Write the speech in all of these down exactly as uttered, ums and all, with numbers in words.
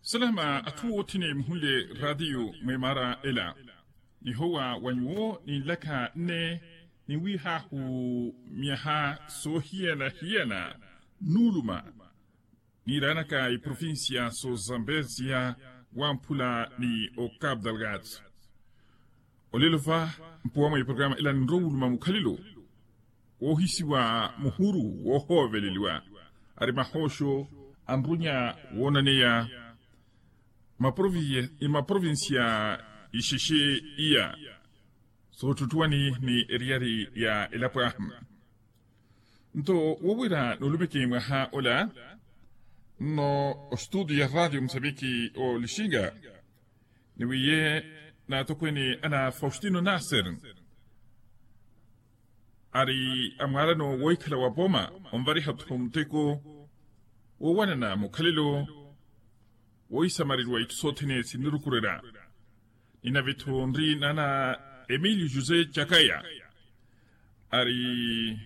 Salama atthu othene muhunle ratiyo mwemara ela, nihowa wa nyuwo ninlaka nne niwihahu myaha sohiyana-hiyana, nuluma niranaka iprovincia so zambezia wamphula ni ocabo delgado. Olelo va mpuwa mwa iprograma ila ninrowuluma mukhalelo wohisiwa muhuru wohoveleliwa, ari mahoxo anrunya wonaneya maprovinsia ixexe iya soottuttuwani ni eriyari ya elapo ahu. Nto wowira nulumeke mwaha ola nno ostudio ya radio musaviki olixinga niwiye naatokweni ana faustino nasser, ari amwaalano wohikhala wa poma onvariha-tho muteko wowanana mukhalelo wohisamareriwa itthu sothene sinnirukurerya. Ninave-tho nri nana emilio josé cakaya, ari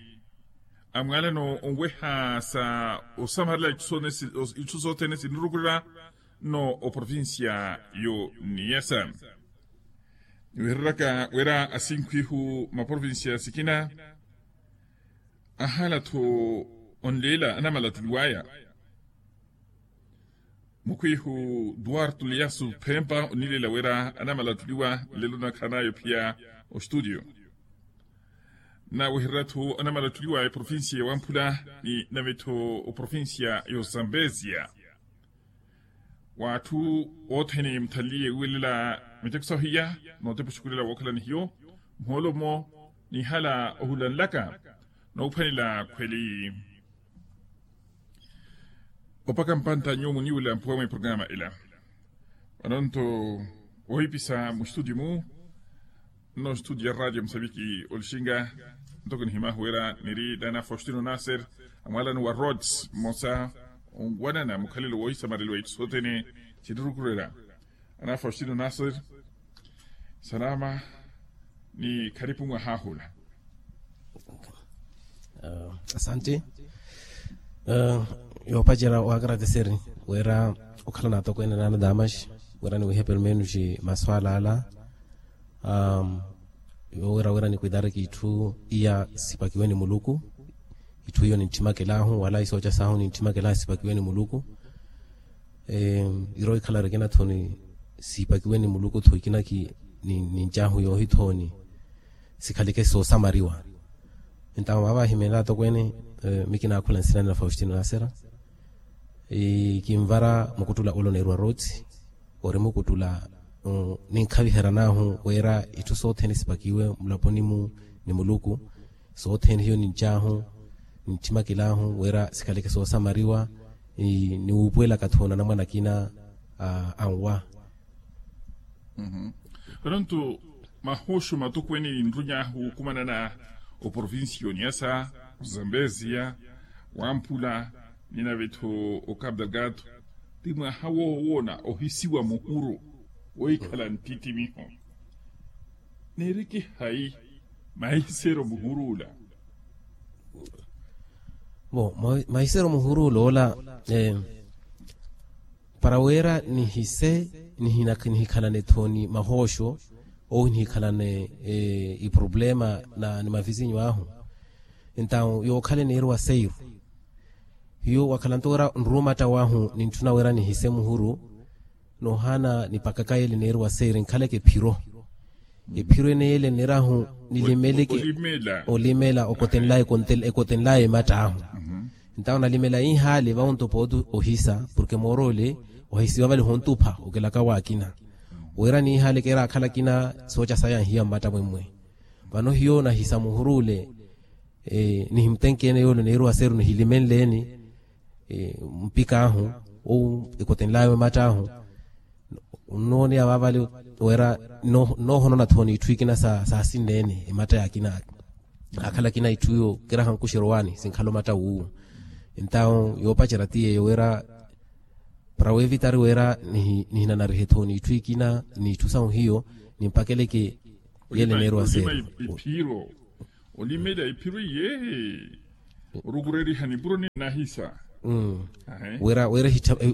amwaalano onweha sa osamarela itthu sothene sinnirukurerya nno oprovincia yo niyasa. Niwehereraka wira asinkhu ihu maprovincia sikina ahala-tho onleela anamalattuliwaya. Mukhwihu duwarto liyasu phempa onileela wira anamalattuliwa nlelo nakhan'aya ophiya ostudio. Nawehererya-tho anamalattuliwa eprovincia ya wamphula ni nave-tho oprovincia ya ozambezia. W'atthu othene muthanliye wiwelela miteko sahu iya nootepa oxukulela wookhala ni hiyo, muhoolo-mo nihala ohulanlaka noophwanela khweli. Opaka mpantta nyuwo muniwula mpuwa mwa iprograma ila. Vano nto wohipisa mustudio mu nno studio ya radio musaviki olixinga, ntoko nihimahu wira niri nana faustino nasser, amwaalano wa rhodes mmosa onwanana mukhalelo wohisamareliwa itthu sothene sinirukurerya. Ana faustino nasser, salama ni kharipu mwaha hula. Asante. Yoopacerya waakarateseri wira okhala naatokweene nana damas wira niwihe permenos maswala ala. Yowira wira nikwitari kitthu iya sipakiwe ni muluku. Itthu iyo ninttimakelahu wala isooca sahu ninttimakelahu sipakiwe ni muluku. Iro ikhala rikina-tho ni sipakiwe ni muluku-tho ikina ki nincahu yoohithoni sikhaleke soosamariwa. Entawo vaavahimeela atokweene, mi kinaakhula nsinani na faustino nasera. Kinvara mukuttula oloneeriwa rooti ori mukuttula ninkhaviheran'ahu wira itthu sothene sipakiwe mulaponi-mu ni muluku. Sothene hiyo nincahu ninttimakelahu wira sikhaleke soosamariwa. Niwuupuwelaka-tho nanamwana akina anwa. Vano nto mahoxo matokweene ninrunyahu okumanana oprovincia oniyasa, ozambezia, wamphula, ninave-tho ocabo delgado, ti mwaha woowoona ohisiwa muhuru wohikhala nttittimiho. Neereke hayi mahisero muhuru ola? Bo mahisero muhuru ola ola para wira nihise nihikhalane-tho ni mahoxo owo nihikhalane iproblema ni mavizinyu ahu. Entawo yookhala eneeriwa seiru hiyo wakhala nto wira nruwo matta wahu nintthuna wira nihise muhuru. Noohaana nipakaka yeele eneeriwa seiru nkhaleke ephiro. Ephiro ene yeele enerahu nilimeleke olimela okotenlaya ematta ahu. Entawo nalimela ihaale vawo nto pooti ohisa porke moor'ole ohisiwa vale hontupha okelaka w'akina wira nihaale keera akhala akina sooca saya nhiya mmatta mwemmwe. Vano hiyo nahisa muhuru ole nihimutenkeene yoole oneeriwa seeru nihilimenleeni mpik'ahu ou ekotenl'awe ematt'ahu. Nnooneya vaavale wira nnoohonona-tho n'itthu ikina saasinneene ematta y'akina akhala akina itthu iyo kiraha nkuxerowani sinkhala omatta wuwo. Entawo yoopacerya ti yeeyo wira para weevitari wira nihinanarihe-tho n'itthu ikina n'itthu sahu hiyo nimpakeleke yeele neeriwa seeru. Olimela iphiro iye orukureriha nipuro ninahisa.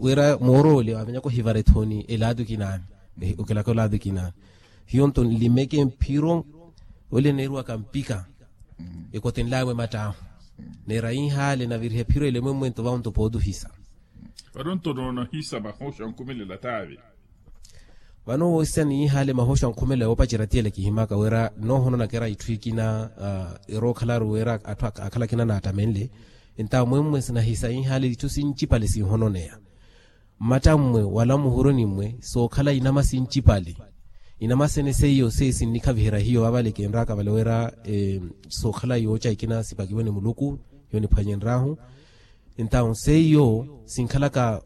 Wira moorole wavenyaka ohivara ethoni elaatu kinaani. Okelaka olaatu kinaani. Hiyo nto nlimeke mphiro ole neeriwaka mpika. Ekotenlawe mattaahu neera inhaale navirihe phiro elemwemwe nto vawo nto pootuhisa. Vano nto noonahisa mahoosho ankhumelela taavi. Vano woosisa ni inhaale mahoosho ankhumelela yoopacerya tiyela kihimaka wira noohono nakera itthu ikina. Erookhala aru wira atthu akhala akina naattamenle. Entawo mwemwe sinahisa inhaale itthu sincipale sinhononeya. Mmattammwe wala muhuruni mmwe sookhala inama sincipale. Inama sene seiyo seiyo sinnikhaviherya hiyo vavale kinraka vale wira sookhala yooca ikina sipakiwe ni muluku. Hiyo niphwanye nrahu. Entawo seiyo sinkhalaka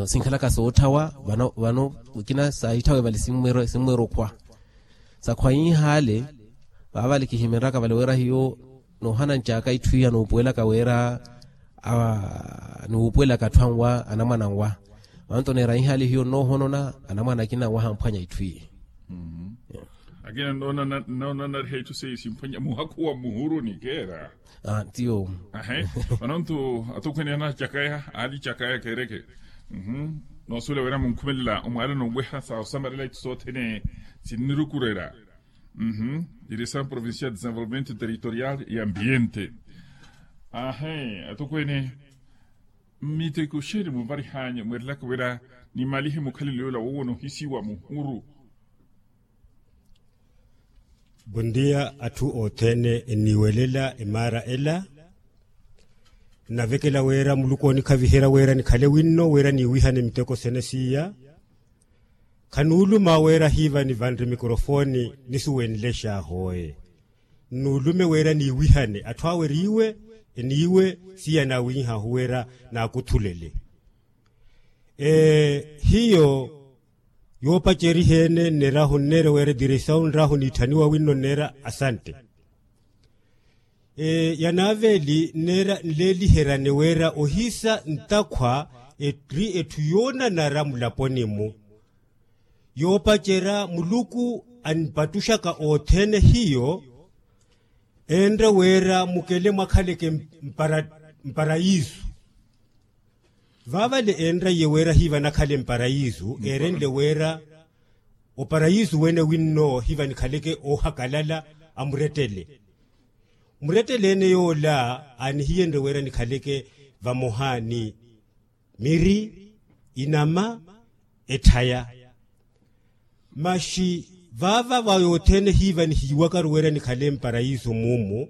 sinkhalaka sootthawa. Vano ikina saahitthawe vale simmweera okhwa. Sakhwa inhaale vavale kihimenraka vale wira hiyo noohana ncaka itthu iya nuupuwelaka wira niwuupuwelaka atthu anwa anamwana anwa. Vanto neera inhaale hiyo nnoohonona anamwana akina anwa hamphwanya itthu iye. Akina nnoonanariha itthu seiyo simphwanya muhakhu wa muhuruni keera. Tiyo. Ahe. Vanontu atukhwene anacakaya alicakaya kereke. Noosuwela wira munkhumelela omwaalo nonweha sa osamarela itthu sothene sinnirukurela. Direção provincial de desenvolvimento territorial e ambiente. Ahe atukhwene. Mmiteko xeeni muvarihanye mweerelaka wira nimalihe mukhalelo yoola wowo noohisiwa muhuru. Bondia atthu othene enniiwelela emaara ela. Nnavekela wira muluku oonikhaviherya wira nikhale winno wira niiwihane miteko sene siiya. Khanuuluma wira hiiva nivanre mikorofoni nisuwenlexe ahooye. Nnuulume wira niiwihane atthu awe eriiwe eniiwe siiya naawinhahu wira naakuthulele. Hiyo yoopaceriha ene nneerahu nneera wira diresawu nrahu niitthaniwa winno nneera asante. Yanaaveeli nneera nleeliheryane wira ohisa ntakhwa eri etthu yoonanara mulaponi-mu. Yoopacerya muluku anipattuxaka othene hiyo enre wira mukele mwakhaleke mparayisu. Vaavale enraiye wira hiiva nakhale mparayisu eerenle wira oparayisu wene winno hiiva nikhaleke oohakalala. Amurettele murettele ene yoola aanihiyenrye wira nikhaleke vamoha ni miri inama etthaya. Maxi vaava va yothene hiiva nihiiwakaru wira nikhale mparayisu muumu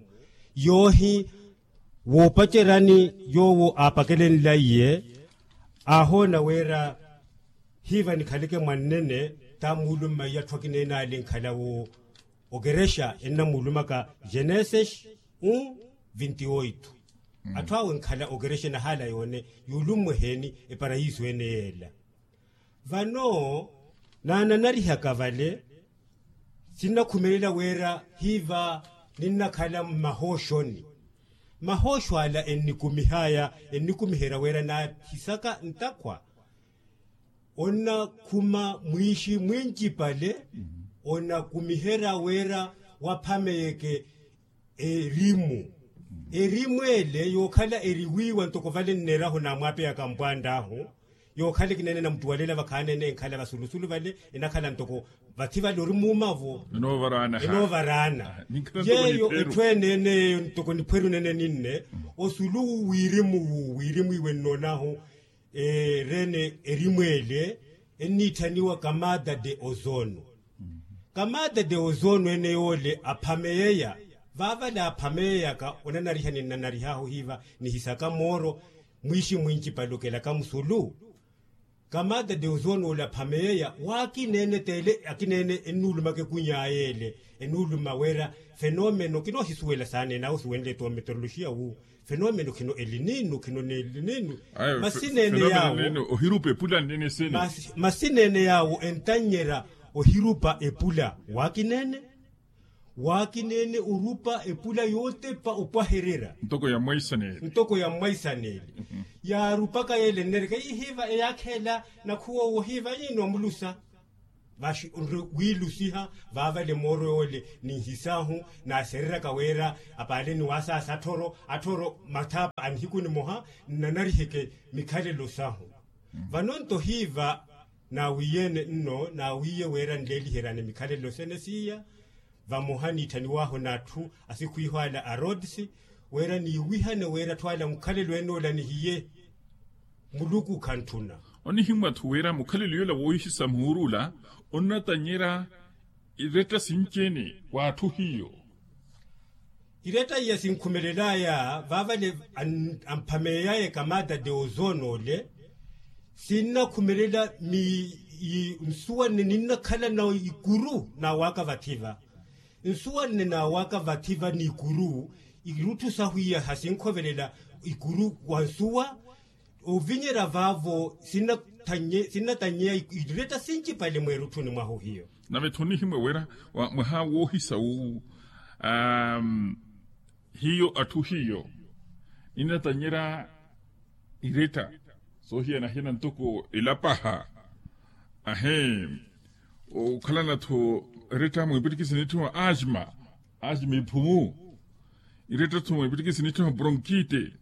yoohi woopaceryani yoowo aapakelenlaiye aahoona wira hiiva nikhaleke mwannene. Taamuulummaiye atthu akina ene aali enkhala wo okerexa ennamuulumaka genesis un vintioito. Atthu awe enkhala okerexa enahaala yoone yuulummwe eheeni eparayisu ene yeela. Vano naananarihaka vale sinnakhumelela wira hiiva ninnakhala mmahooxoni. Mahooxo ala ennikumihaya ennikumiherya wira naahisaka ntakhwa onnakhuma mwiixi mwincipale. Onakumiherya wira waphameyeke erimu. Erimu ele yookhala eriwiiwa ntoko vale nneerahu naamwaapeyaka mpwant'ahu yookhala ekineene namuttuwalela vakhaneene enkhala vasulusulu vale enakhala ntoko vathi vale ori muumavo enoovaraana. Yeeyo etthu eneene eyo ntoko niphweru nene ninne osulu wirimu wu wirimu iwe nnoonahu. Ereene erimweele enniitthaniwa kamada de ozono. Kamada de ozono ene yoole aphameyeya vaavale aphameyeyaka onanariha ninnanarih'ahu hiiva nihisaka mooro mwiixi mwincipale okelaka musulu. Kamada de ozono ole aphameyeya waakineene t'ele akineene ennuulumaka ekuny'aya ele ennuuluma wira fenomeno kinoohisuwela saaneene awo osuwenle t'ometeroloxiya wu fenomeno khino elininu khino n'elininu. Masi neene yaawo ohirupa epula nnene sene. Masi neene yaawo entannyerya ohirupa epula waakineene waakineene orupa epula yootepa opwahererya ntoko ya mmwaisaneeli. Yaarupaka yeele nnereke ihiiva eyaakheela nakhuwa owo hiiva yiino omulusa. Vaxi onre wiilusiha vaavale mooro yoole ninhisaahu naasereryaka wira apaale ni waasaasa atthoro atthoro mathaapa a nihiku nimoha nnanariheke mikhalelo sahu. Vano nto hiiva naawiiye-ene nno naawiiye wira nleeliheryane mikhalelo sene siiya vamoha niitthaniwaahu n'atthu asikhwiiho ala a rods wira niiwihane wira atthu ala mukhalelo ene ola nihiye. Muluku khantthuna. Onihimwa-tho wira mukhalelo yola woohisa muhuruula onnatanyerya iretta sinci-ene w'atthu hiyo. Iretta iya sinkhumelelaya vaavale amphameeyaya ekamaada de ozone ole sinnakhumelela. Nsuwa nne ninnakhala na ikuru naawaka vatthi va nsuwa nne naawaka vatthi va n'ikuru irutthu sahu iya hasinkhovelela ikuru wa nsuwa. Ovinyerya vaavo sinnatannyeya iretta sincipale mweerutthuni mwahu hiyo. Nave-tho onihimwa wira mwaha woohisa wu hiyo atthu hiyo ninnatanyerya iretta soohiyana-hiyana ntoko elapaha. Ahe okhalana-tho eretta mwiipittikisi nitthima asma asma iphumu. Iretta-tho mwiipittikisi nitthima bronkite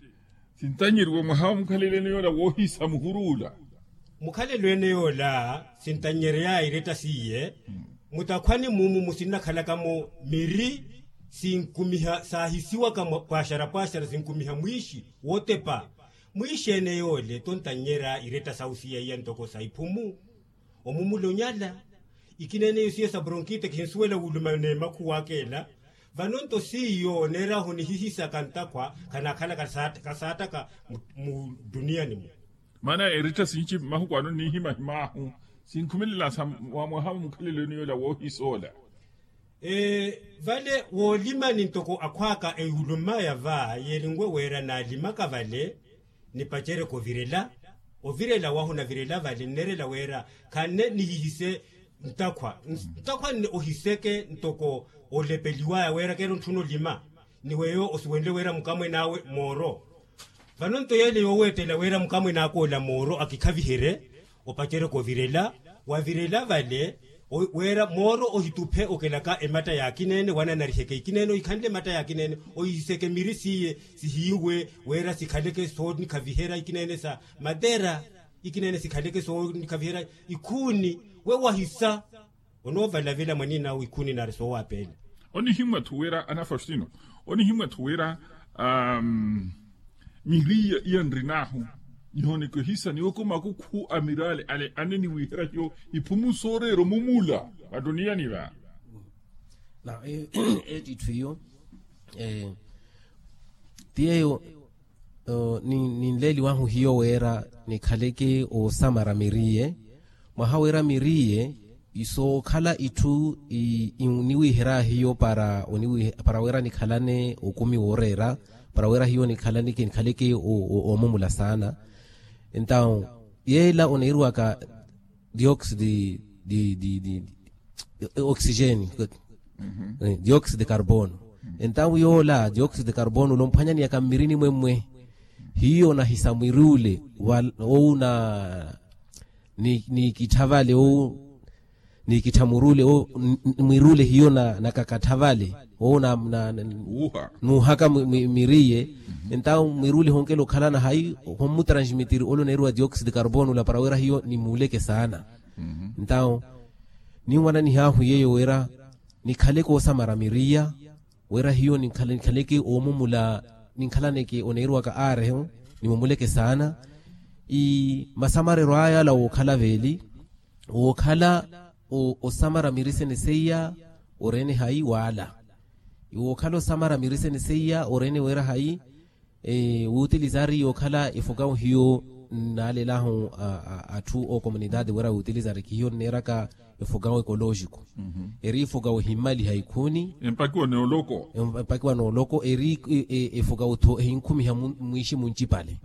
sintanyeriwa mwaha wa mukhalelo ene yoola woohisa muhuruula. Mukhalelo ene yoola sintanyereya iretta siiye mutakhwani mumu musinnakhalaka-mo miri sinkumiha saahisiwaka pwaaxara pwaaxara sinkumiha mwiixi wootepa. Mwiixi ene yoole tontanyerya iretta sawu siiya iya ntoko sa iphumu omumula onyala ikineene iyo siiya sa bronkite kihinsuwela wuluma n'emakhuwaka ela. Vano nto siiyo oneeryahu nihihisaka ntakhwa khanaakhala kasaattaka mu duniyani-mu. Maana eretta sinci mahuku ano niihimahimaahu sinkhumelela sa mwaha wa mukhalelo ene yoola woohisa ola. Vale woolimani ntoko akhwaaka ewulumaya va yeerinwe wira naalimaka vale nipacereke ovirela. Ovirela wahu navirela vale nneerela wira khanne nihihise ntakhwa ntakhwa nne ohiseke ntoko olepeliwaya wira keero ntthuna olima ni weyo osiwenle wira mukamwene awe mooro. Vano nto yeele yooweettela wira mukamwene aka ola mooro akikhaviherye opacereke ovirela wavirela vale wira mooro ohituphe okelaka ematta y'akineene wananariheke ikineene ohikhanle ematta y'akineene ohihiseke miri siiye sihiiwe wira sikhaleke soonikhaviherya ikineene sa matera ikineene sikhaleke soonikhaviherya ikhuuni we wahisa. Onoovalavela mwanina awe ikhuuni naari soowaapeela. Onihimwa-tho wira anafastino onihimwa-tho wira miriya iya nrinaahu nihooneke ohisa niwoko makukhu a miraale ale aneniwiherya hiyo iphumu sooreera omumula mattuniyani va. Etitthu iyo ti yeeyo ninleeliwahu hiyo wira nikhaleke oosamara miriye mwaha wira miriye isookhala itthu niwiherya hiyo para wira nikhalane okumi wooreera para wira hiyo nikhaleke oomumula saana. Entawu yeela oneeriwaka dioxide di oxigene dioxide de carbono. Entawu yoola dioxide de carbono ole omphwanyaniyaka mmirini mwemmwe hiyo nahisa mwiri ule owu na niikittha vale owu niikittha mwiri ule owu mwiri ule hiyo nakakattha vale owu nuuhaka mwiriye. Entawu mwiri ule honkela okhalana hayi hommutransmitiri ole oneeriwa dioxide de carbono ola para wira hiyo nimuuleke saana. Entawu ninwananihaahu yeeyo wira nikhaleke oosamara miriya wira hiyo nikhaleke oomumula ninkhalaneke oneeriwaka aarehu nimumuleke saana. Masamareryo aya ala wookhala veeli wookhala osamara miri sene seiya oreene hayi waala wookhala osamara miri sene seiya oreene wira hayi wuutilizari yookhala efokawu hiyo nnaalelahu atthu ookomunitaati wira wuutilizari kihiyo nneeraka efokawu ekolooxiku eri efokawu ehimmaliha ikhuuni empakiwa nooloko eri efokawu-tho ehinkhumiha mwiixi muncipale.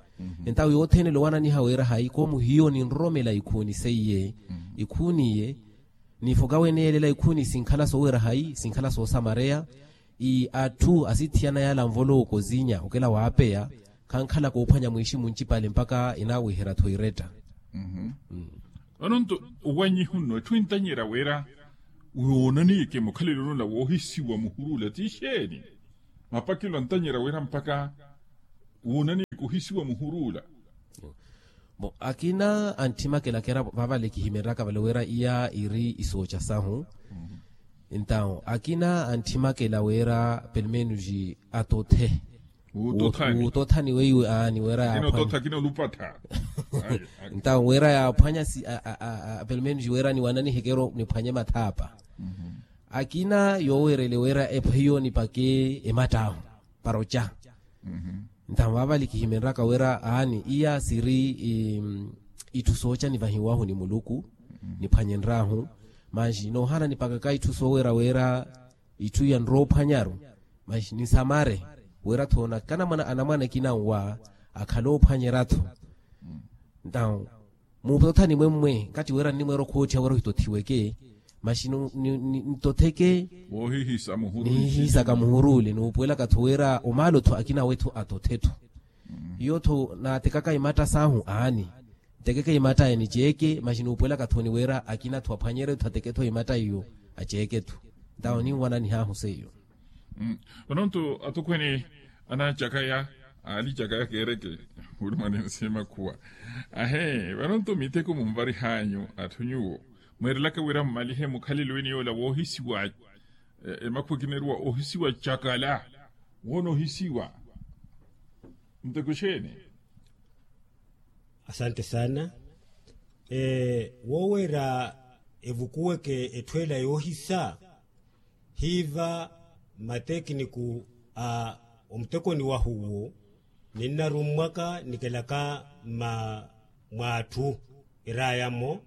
Entawu yothene lowananiha wira hayi koomu hiyo ninroromela ikhuuni seiye ikhuuni iye nifokawu ene yeelela ikhuuni sinkhala soowira hayi sinkhala soosamareya. Atthu asithiyana yaala nvolooko zinya okela waapeya khankhala koophwanya mwiixi muncipale mpakha enaawiherya-tho iretta. Vano nto owanyihu nno etthu entanyerya wira woonaniyeke mukhalelo nola woohisiwa muhuru ola ti exeeni? Mapakelo antanyerya wira mpakha woonaniyeke ohisiwa muhuru ola. Akina antthimaka elakhera vavale kihimeryaka vale wira iya iri isooca sahu. Entawo akina antthimaka ela wira pelmenus atothe wuutothani weiwe aani wira yaaphwanya. Ntawo wira yaaphwanya si pelmenus wira niwananiheke ero niphwanye mathaapa. Akina yoowerele wira ephiyo nipake ematt'ahu para oca. Ntawo vaavale kihimenryaka wira aani iya siri itthu sooca nivahiwahu ni muluku. Niphwanyenryahu manji noohana nipakaka itthu soowira wira itthu iya nroophwanyaru. Manji nisamare wira thoona kanamwana anamwana ekina nwa akhale oophwanyerya-tho. Ntawo muutothani mwemmwe nkatti wira nnimweera okhootthiha wira ohitothiweke. Maxi nitotheke nihihiisaka muhuru ole nuupuwelaka-tho wira omaalo-tho akina awe-tho atothe-tho. Hiyo-tho naatekaka imatta saahu aani ntekeke imatta aya niceeke maxi nuupuwelaka-tho ni wira akina-tho aphwanyerye-tho ateke-tho imatta iyo aceeke-tho. Ntawo ninwananihaahu seiyo. Vanonto atukhwene anaacakaya aali cakaya keereke wulumani nsimakhuwa. Ahe vanonto miteko munvarih'anyu atthu nyuwo mweerelaka wira mmalihe mukhalelo eni yoola woohisiwa emakhuwa ekineriwa ohisiwa cakala. Woona ohisiwa nteko exeeni? Asante saana. Wooweera evukuweke etthu ela yoohisa hiiva matekiniku a omutekoni wahu uwo ninnarummwaka nikelaka mma mw'atthu eraya-mo.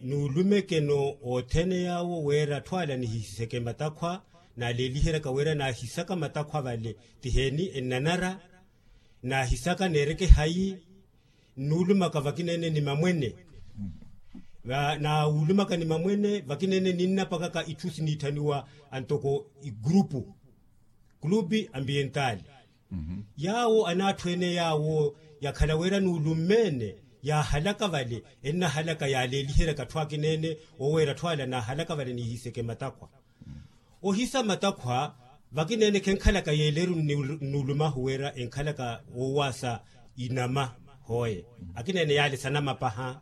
Nuulumeke-no othene yaawo wira atthu ala nihihiseke matakhwa naaleeliheryaka wira naahisaka matakhwa vale ti heeni ennanara naahisaka neereke hayi. Nnuulumaka vakina-ene ni mamwene naawulumaka ni mamwene vakina-ene ninnapakaka itthu siniitthaniwa antoko igurupu clube ambientali. Yaawo anaatthu ene yaawo yakhala wira nuulumme-ene yaahalaka vale ennahalaka yaaleeliheryaka atthu akina-ene oweera atthu ala naahalaka vale niihiseke matakhwa. Ohisa matakhwa vakina-ene khenkhalaka yeeleru nnuulumahu wira enkhalaka woowaasa inama hooye akina-ene yaale sanama paha.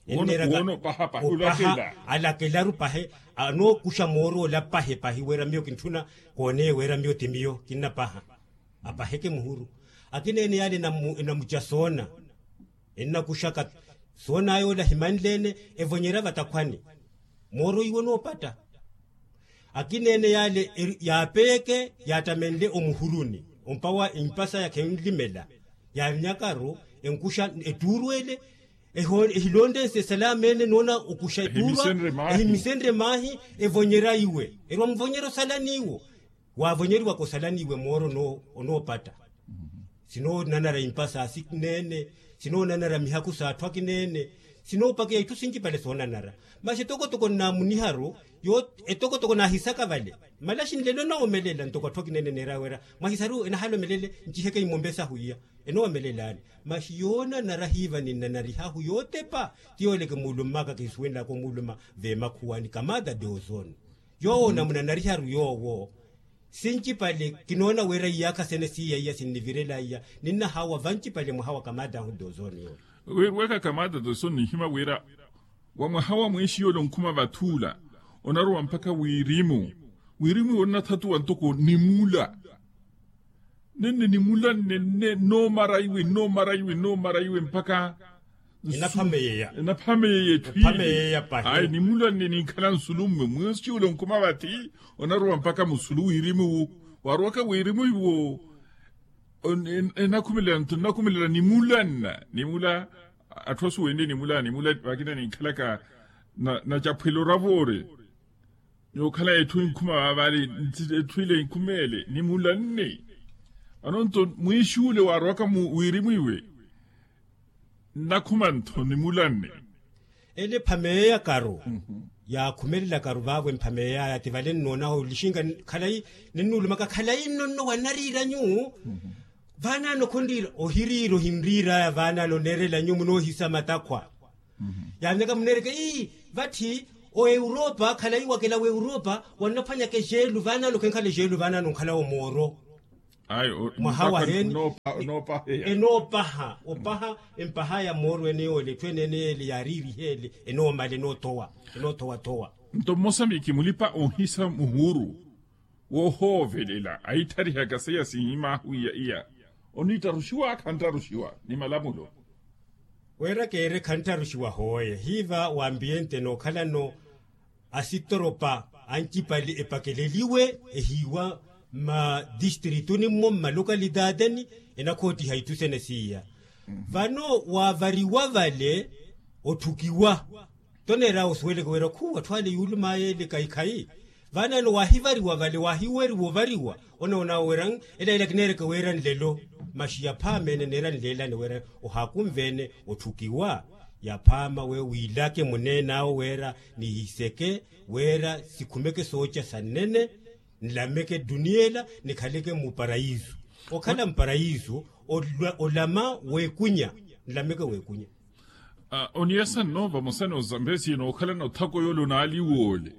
Enneeraka opaha alakelaru pahe anookuxa mooro ola pahe pahi wira miyo kintthuna kooneye wira miyo ti miyo kinnapaha. Apaheke muhuru akina-ene yaale enamuca soona ennakuxaka soon'aya ola himanle-ene evonyerya vatakhwani mooro iwo noopatta. Akina-ene yaale yaapeyeke yaattamenle omuhuruni ompawa impasa ya khenlimela yaavinyakaru enkuxa ettuuru ele ehilonrense esalaama ene noona okuxa ettuuru ehimisenrye maahi evonyerya iwe erwa muvonyerya osalani iwo. Waavonyeriwaka osalani iwe mooro onoopatta sinoonanara impasa asikina-ene sinoonanara mihaku s'atthu akina-ene sinoopakeya itthu sincipale soonanara. Masi etokotoko nnaamuniharu etokotoko naahisaka vale malaxi nlelo nnawomelela ntoko atthu akina-ene neeraya wira mwahisariwe enahala omelele nciheke imombe sahu iya enowomelelani. Masi yoonanara hiiva ninnanarihahu yootepa ti yooleke muulummaka kihisuwenlaka omuuluma veemakhuwani kamada de ozone yoowo namunanariharu yoowo. Sincipale kinoona wira iyaakha sene siiya iya sinnivirela iya ninnahawa vancipale mwaha wa kamada ahu dozoni yoowo. Weka kamada dozoni nihima wira wa mwaha wa mweexiyo ole onkhuma vathula onarowa mpakha wirimu wirimu iwo onnathatuwa ntoko nimula. Nenne nimula nenne noomara iwe noomara iwe noomara iwe mpakha enaphameyeya enaphameyeya etthu ile. Ayi nimula nne ninkhala nsulumme mweexiyo ole onkhuma vathi onarowa mpakha musulu wirimu wu waarowaka wirimu iwo. Enakhumelela nimula nna nimula atthu asuwenle nimula nimula vakina ninkhalaka nacaphwela oravoore. Yookhala etthu inkhuma vaavale etthu ile inkhumeele nimula nne. Vano nto mwiixuule waarowaka wirimu iwe nnakhuma ntho nimula nne. Ele ephameeyakaru yaakhumelelakaru vaavo emphameeyaya ti vale nnoonaho lixinka khalayi ninnuulumaka khalayi nno nno wanariiranyu. Vaanaano khonriira ohiriira ohinriiraya vaanaano oneerela nyu munoohisa matakhwa. Yaamyaka muneereke ii, vatthi o europa khalayi wakela wa europa wannaphwanyaka exeelu vaanaano khenkhala exeelu vaanaano nkhala omooro. Mwaha waheni enoopaha. Opaha empaha ya mooro ene yoole etthu ene ene yeele yaariiriha ele enoomala enoothowa enoothowa-thowa. Nto mmosa miiki mulipa oohisa muhuuru woohoovelela ahittharihaka seiya sinhimaahu iya iya oniittaruxiwa khanttaruxiwa ni malamulo. Weera keere khanttaruxiwa hooye hiiva wa ambiente nookhalano asitoropa ancipali epakeleliwe ehiiwa mmadistritu nimmo mmalokalidaateni enakhootiha itthu sene siiya. Vano waavariwa vale otthukiwa toneera osuweleke wira khuu atthu ale yuulumaya ele kaikhayi. Vaanaano waahivariwa vale waahiweriwa ovariwa onoonaawo wira ela ela kineereke wira nlelo. Maxi yaphaama ene neera nleelane wira ohaakunve ene otthukiwa yaphaama we wiilake muneen'awo wira nihiseke wira sikhumeke sooca sannene nlameke dduniya ela nikhaleke muparayiso. Okhala muparayiso olama weekunya nlameke weekunya. Oniyasa nno vamosa n'ozambesi nookhalana othako yoole onaaliwa ole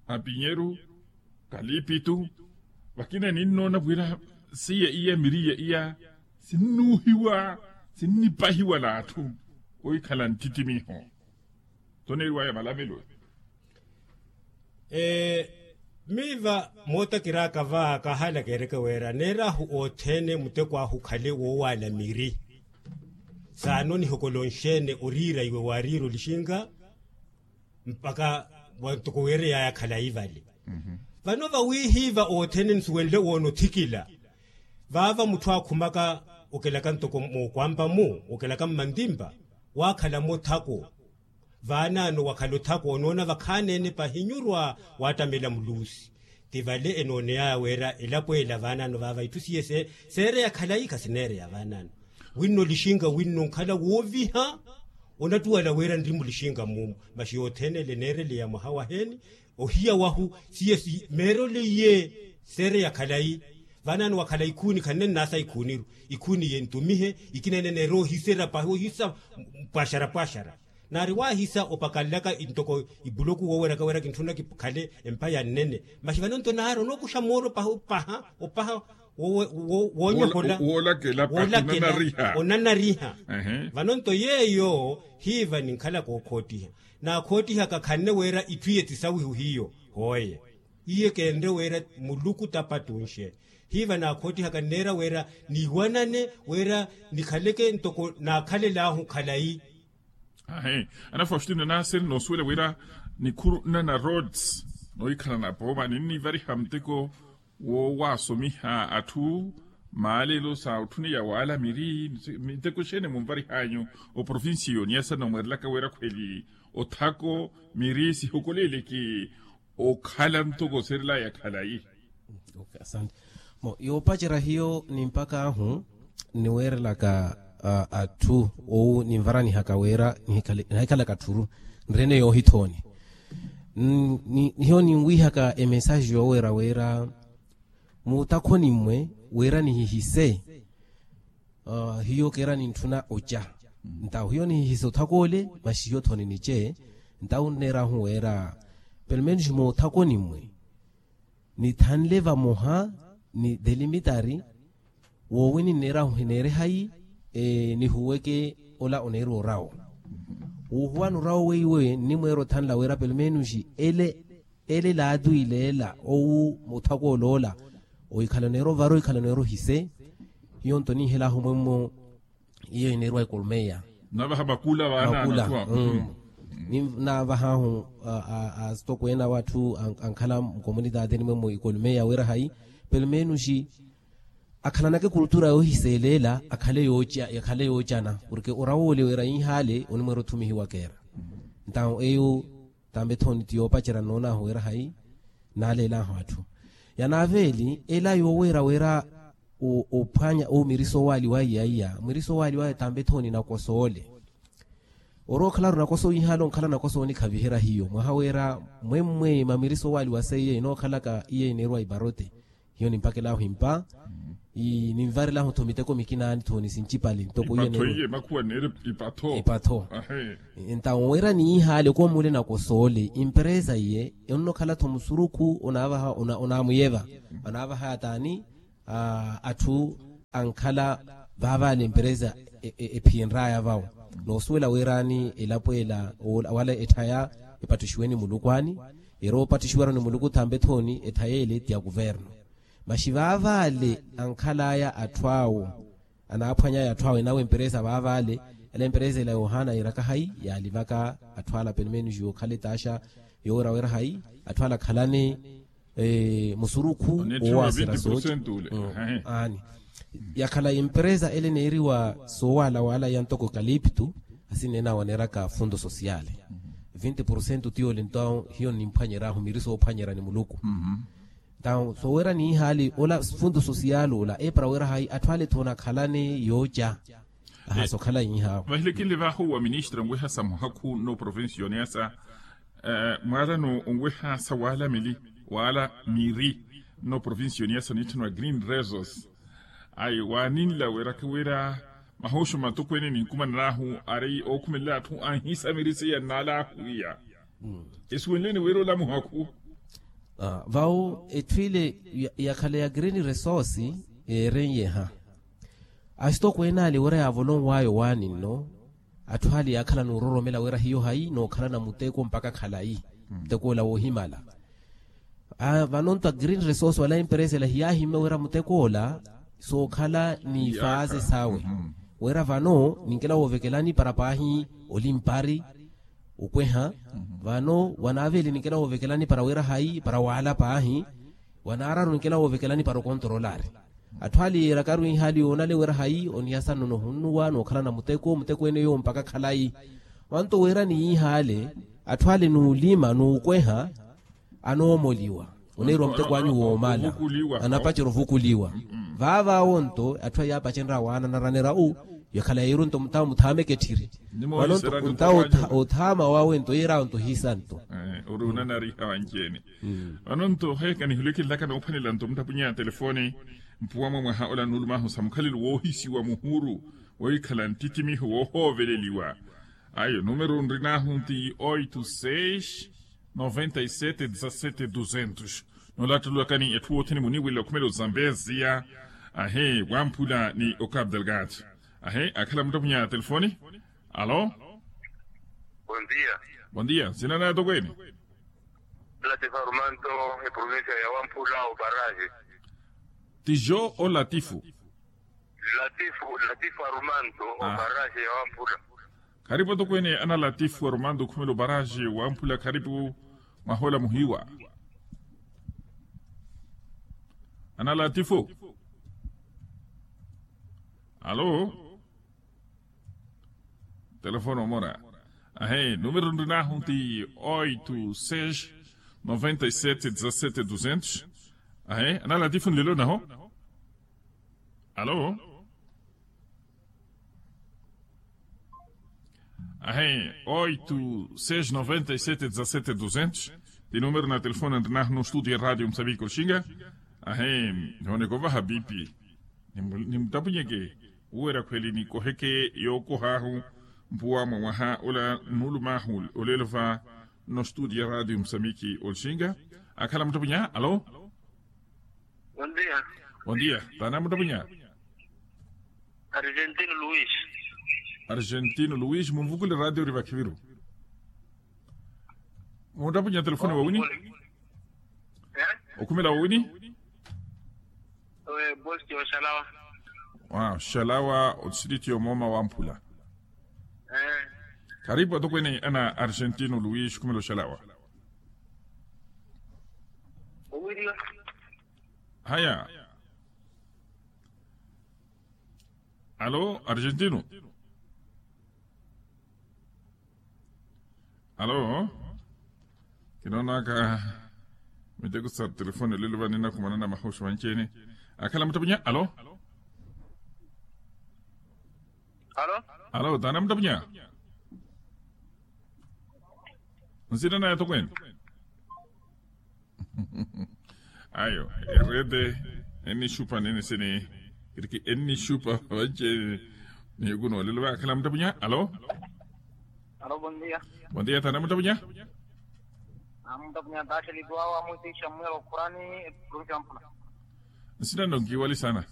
apinyeru kalipitu vakina ninnoona wira seiya iya miriya iya sinnuuhiwa sinnipahiwa n'atthu ohikhala nttittimiho. Toneeriwaya malamelo. Miiva mootakiraka va kahala keereke wira neerahu othene muteko ahu khale woowaala miri. Saano nihokolonxene oriira iwe waariira olixinka mpaka wantoko weereyaya khalayi vale. Vano vawiihiiva othene nsuwenle woona othikila vaava mutthu aakhumaka okelaka ntoko mookwampa-mu okelaka mmantimpa waakhala-mu othako. Vaanaano wakhala othako onoona vakhaani-ene pahinyurwa waattamela muluusi. Ti vale enooneyaya wira elapo ela vaanaano vaava itthu siye seereya khalayi khasineereya vaanaano. Winno lixinka winno nkhala wooviha onattuwala wira nri mulixinka muumu. Maxi yothene ele neereleya mwaha waheni ohiya wahu siye simeeroliye seereya khalayi. Vaanaano wakhala ikhuuni khanne nnaasa ikhuuniru ikhuuni ye ntumihe ikina ene neera ohisera pahi ohisa pwaxara pwaxara. Naari waahisa opakalelaka ntoko ipuloku wooweraka wira kintthuna kikhale empa yannene. Maxi vano nto naari onookuxa mooro paha opaha woonyohola woolakela onanariha. Vano nto yeeyo hiiva ninkhalaka okhoottiha naakhoottiha kakhanne wira itthu iye tisawihu hiyo hooye. Iye keenre wira muluku tapattunxe hiiva naakhoottihaka nneera wira niiwanane wira nikhaleke ntoko naakhalel'ahu khalayi. Ahi. Ana faustino naaseri noosuwela wira nikhuru nnana roads noohikhala napooma ninnivariha muteko woowasomiha atthu maalelo sa otthuneya waala miri. Miteko exeene munvarihanyu oprovincia y'oniyasa noomweerelaka wira khweli othako miri sihokoleeleke okhala ntoko oserelaya khalayi. Asante. Yoopacerya hiyo ni mpak'ahu niweerelaka atthu owu ninvaranihaka wira nihikhalaka tthuru nrene yoohithooni. Hiyo ninwihaka emesaji yooweera wira muutakhoni mmwe wira nihihise hiyo keera nintthuna oca. Ntawo hiyo nihihise othak'ole maxi hiyo thoni nice. Ntawo nneerahu wira pelumenos moothakoni mmwe nithanle vamoha ni delimitari woowi ninneerahu hineere hayi nihuweke ola oneeriwa orawo. Wuuhuwana orawo weiwe nnimweera othanla wira pelumenos ele ele laatwileela owu muthako oloola. Ohikhala oneera ovara ohikhala oneera ohise hiyo nto ninhelahu mwemmo. Iyo ineeriwa ekolmeya navaha makula vaana makula. Naavahaahu asitokweene awo atthu ankhala mukomunitaateni mwemmo ekolmeya wira hayi pelumenos akhalanaka ekultura yoohiseeleela akhale yoocana porke orawoole wira inhaale onimweera othumihiwa keera. Ntawo eyo tambe thoni ti yoopacerya nnoon'ahu wira hayi naaleel'ahu atthu. Yanaaveeli ela yooweera wira ophwanya owo miriso owaaliwa iya iya miriso owaaliwa tambe thoni nakosoole. Orookhala aru nakoso inhaale onkhala nakoso onikhaviherya hiyo mwaha wira mwemmwe mamiriso owaaliwa seiye inookhalaka iye ineeriwa iparote. Hiyo nimpakel'ahu impa Ninvarelahu-tho miteko mikina-ni-tho ni sincipale ntoko iye neewe. Ipatho. Entawo wira niihale okomuule nakosoole imperesa iye onnokhala-tho musurukhu onaavaha onaamuyeva, anaavaha ataani atthu ankhala vaavale emperesa ephiyenraya vawo. Noosuwela wira-ni elapo ela wala etthaya epattixiwe ni muluku ani, erowa opattixiwa-ru ni muluku thampe-thoni etthaya ele ti ya kuverno. Maxi vaavale ankhalaya atthu awo anaaphwanyaya atthu awo enawo emperesa vaavale. Ela emperesa ela yohana yiiraka hayi yaalivaka atthu ala pelo menos yookhala etaaxa yoowira wira hayi atthu ala akhalane musurukhu woowaasira sooci. Aani yakhala emperesa ele eneeriwa soowalawala ya ntoko ekaliptu. Asi neena waneeraka fundo sosiale vinti porcento tiyoole nto hiyo nimphwanyeryahu miri soophwanyerya ni muluku. Ntawo soowira niihali ola fundo sosiale ola eepara wira hayi atthu ale-tho onakhalane yooca. Ahasi okhala iihaawo. Vahile kinle vaahu wa ministra onweha sa muhakhu nno provincioni asa mwaalano onweha sa waala mili waala miri nno provincioni asa nitthaniwa green resource. Ayi waaninla weeraka wira mahuuxu matokweene ninkumanan'ahu ari ookhumelela atthu anhisa miri seiya nnaalaahu iya. Esuwenleni wira ola muhakhu. Vawo etthu ile yakhala ya green resource yeerenyeha asitokweene ale wira yaavolonw'aya owaani nno. Atthu ale yaakhala n'uroromela wira hiyo hayi nookhalana muteko mpakha khalayi muteko ola woohimala. Vano nto a green resource wala emperesa ela hiyaahimme wira muteko ola sookhala ni faaze sawe wira vano ninkela woovekelani para paahi olimpari okweha. Vano wanaaveli ninkela woovekelani para wira hayi para waala paahi wanaararu ninkela woovekelani para okontorolari. Atthu ale yiirakaru iihali yoonale wira hayi onihasa nno nohunnuwa nookhalana muteko muteko ene yowo mpakha khalayi. Vanto wira niyiihale atthu ale nuulima nuukweha anoomoliwa oneeriwa muteko anyu woomala anapacerya ovukuliwa. Vaavaawo nto atthu aya aapacenrya waana anaranerya u yakhala yeeru nto muthaameke etthiri. Vano nto ntawo othaama wawe nto yeerawo nto hiisa nto. Ori onanariha wanci-ene. Vano nto heeka nihuleke nlaka noophwanela nto muttapunya ya telefoni mpuwa mwa mwaha ola nuulumaahu sa mukhalelo woohisiwa muhuru wohikhala nttittimiho woohooveleliwa. Ayo numero nrin'ahu nti oito seis noventa e sete dezasete duzentos. Noolattululakani etthu wothene muniwela okhumela ozambeziya ahe wamphula ni ocapo delgado. Ahe akhala muttapunya ya telefoni. Alo. Bondia. Bondia nsina naya tokweene. Latifu arumanto eprovincia ya wamphula oparaje. Tijo olatifu. Latifu latifu arumanto oparaje ya wamphula. Kharipu atokweene ana latifu arumanto okhumela oparaje wamphula kharipu. Mwahola muhiwa. Ana latifu. Alo. Telefone omora. Ahe numero nrinahu nti oito seis noventa e sete dezasete duzentos. Ahe ana latifu nlelo naho. Alo. Ahe oito seis noventa e sete dezasete duzentos. Ti numero na telefone nrinahu no studio ya radio msaviko lxinga. Ahe nihoneka ovaha pipi. Nimutapunyeke uwera khweli nikoheke yookohahu. Mpuwa mwa mwaha ola nulumahu olelo va nno studio ya radio musamiki olxinga. Akhala muttapunya alo. Bondia. Bondia tana muttapunya. Argentino luis. Argentino luis munvukule radio ori vakhiviru. Muttapunya telefone wawini. Okhumela wawini. Owe bosti oxalawa. Oxalawa otistriti yomooma wamphula. Karipu atokweene ana argentino luis okhumela oxalawa. Haya. Alo argentino. Alo. Kinoonaka miteko sa telefone olelo vani nakhumanana mahuxu vanci-ene. Akhala muttapunya alo. Alo. Alo tana muttapunya. Nsina naya tokweene. Ayo erede enixupa nini sini. Kiriki ennixupa vanci. Niyuku noolelo vakhala mutapunya alo. Alo bondia. Bondia tana mutapunya. Amutapunya taxelituwa wa musi xamuel okurani. Provincia wa mpula. Nsina nonkiwali sana.